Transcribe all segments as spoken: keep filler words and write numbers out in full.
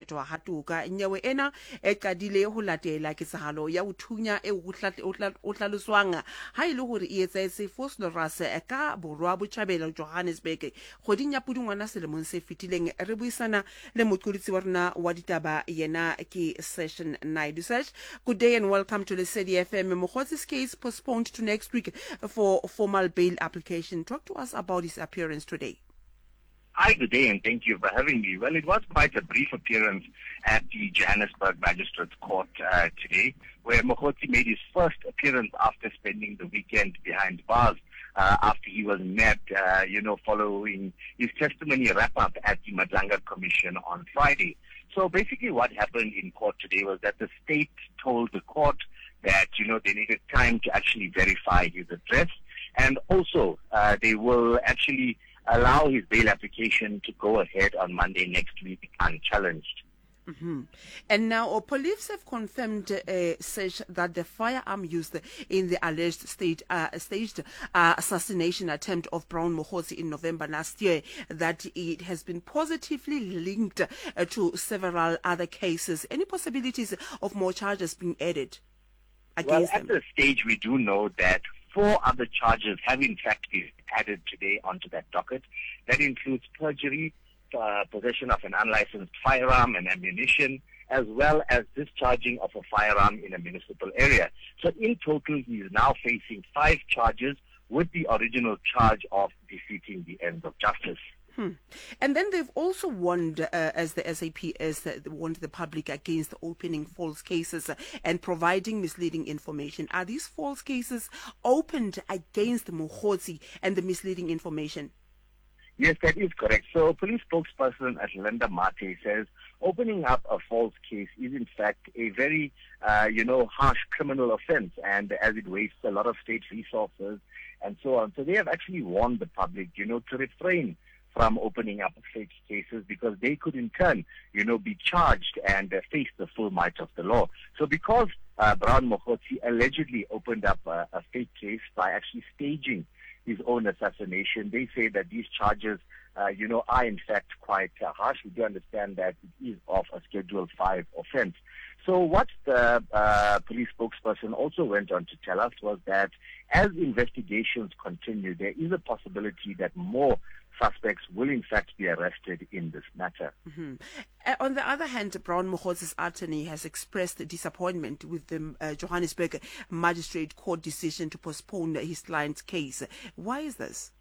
phethwa ha toka. Nyewe ena e qadile ho latela ketsahalo ya ho thunya eo ho hlaloswang ha e le hore e etsahetse Vosloorus ka borwa botjhabela Johannesburg kgweding ya Pudungwana selemong se fetileng. Re buisana le moqolotsi wa rona wa ditaba, yena ke Session Naidu. Sesh, good day and welcome to Lesedi F M. Mogotsi's case postponed to next week for formal bail application. Talk to us about his appearance today. Hi, good day, and thank you for having me. Well, it was quite a brief appearance at the Johannesburg Magistrates Court uh, today, where Mogotsi made his first appearance after spending the weekend behind bars, uh, after he was nabbed, uh, you know, following his testimony wrap-up at the Madlanga Commission on Friday. So basically what happened in court today was that the state told the court that, you know, they needed time to actually verify his address, and also uh, they will actually allow his bail application to go ahead on Monday next week unchallenged. Mm-hmm. And now, uh, police have confirmed, uh, Sesh, that the firearm used in the alleged state, uh, staged uh, assassination attempt of Brown Mogotsi in November last year, that it has been positively linked uh, to several other cases. Any possibilities of more charges being added against Well, at them? This stage, we do know that four other charges have in fact been added today onto that docket. That includes perjury, uh, possession of an unlicensed firearm and ammunition, as well as discharging of a firearm in a municipal area. So in total, he is now facing five charges, with the original charge of defeating the ends of justice. Hmm. And then they've also warned, uh, as the S A P S uh, warned the public against opening false cases and providing misleading information. Are these false cases opened against Mogotsi and the misleading information? Yes, that is correct. So police spokesperson Athlenda Mathe says opening up a false case is in fact a very, uh, you know, harsh criminal offense, and as it wastes a lot of state resources and so on. So they have actually warned the public, you know, to refrain from opening up fake cases, because they could in turn, you know, be charged and uh, face the full might of the law. So because uh, Brown Mogotsi allegedly opened up a, a fake case by actually staging his own assassination, they say that these charges, uh, you know, are in fact quite uh, harsh. We do understand that it is of a Schedule five offense. So what the uh, police spokesperson also went on to tell us was that as investigations continue, there is a possibility that more suspects will in fact be arrested in this matter. Mm-hmm. Uh, on the other hand, Brown Mogotsi's attorney has expressed disappointment with the uh, Johannesburg Magistrate Court decision to postpone his client's case. Why is this?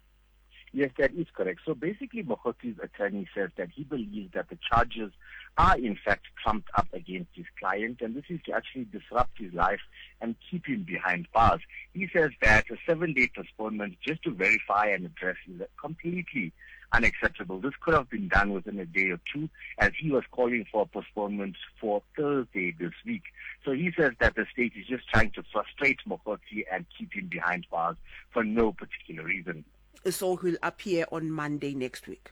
Yes, that is correct. So basically, Mogotsi's attorney says that he believes that the charges are in fact trumped up against his client, and this is to actually disrupt his life and keep him behind bars. He says that a seven-day postponement just to verify an address is completely unacceptable. This could have been done within a day or two, as he was calling for a postponement for Thursday this week. So he says that the state is just trying to frustrate Mogotsi and keep him behind bars for no particular reason. So he'll appear on Monday next week.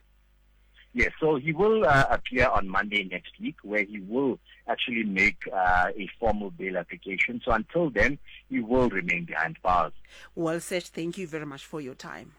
Yes, so he will uh, appear on Monday next week, where he will actually make uh, a formal bail application. So until then, he will remain behind bars. Well said. Thank you very much for your time.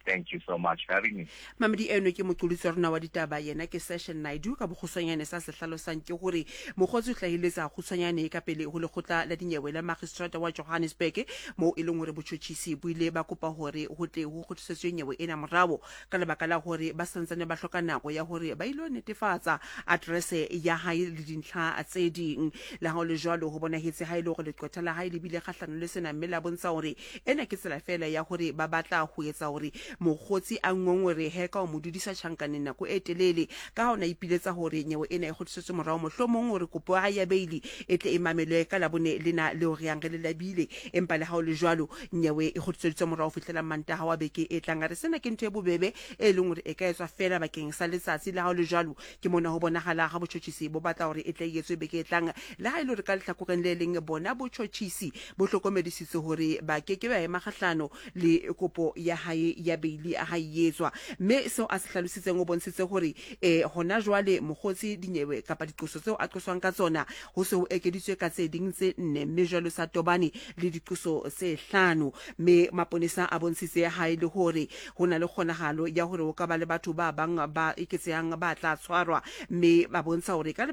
Thank you so much for having me. Mamedi, eno ke moqolotsi wa rona wa ditaba, yena ke Session Naidu. Ka bokgutshwanyane sa se hlalosang ke hore Mogotsi o hlahiletse kgutshwanyane ka pele ho lekgotla la dinyewe la magistrata wa Johannesburg, moo e leng hore botjhotjhisi bo ile ba kopa hore ho tle ho kgutlisetswe nyewe ena morao ka lebaka la hore ba santsane ba hloka nako ya hore ba ilo netefatsa address ya hae le dintlha tse ding. Le ha ho le jwalo, ho bonahetse ha e le hore leqwetha la hae le bile kgahlano le sena, mme la bontsha hore ena ke tsela feela ya hore ba batla ho etsa hore Mogotsi a ngongorehe ka ho mo dudisa tjhankaneng nako e telele, ka ha o na ipiletsa hore nyewe ena e kgutlisetswe morao, mohlomong hore kopo ya hae ya beili e tle e mamelwe ka Labone lena leo re yang re le labile. Empa le ha ho le jwalo, nyewe e kgutliseditswe morao ho fihlela Mantaha wa beke e tlang. A re sena ke ntho e bobebe e leng hore e ka etswa feela bakeng sa letsatsi. Le ha ho le jwalo, ke mona ho bonahala ha botjhotjhisi bo batla hore e tle e etswe beke e tlang, le ha e le hore ka lehlakoreng le leng bona botjhotjhisi bo hlokomedisitse hore ba ke ke ba ema kgahlano le kopo ya hae ya beili a ha e etswa. Mme seo a se hlalositseng, o bontshitse hore eh hona jwale Mogotsi dinyewe kapa diqoso tseo a qoswang ka tsona ho se ho ekeditswe ka tse ding tse nne, mme jwalo sa tobane le diqoso tse hlano. Mme maponesa a bontshitse ha e le hore ho na le kgonahalo ya hore ho ka ba le batho ba bang ba eketsehang ba tla tshwarwa, mme ba bontsha hore ka lebaka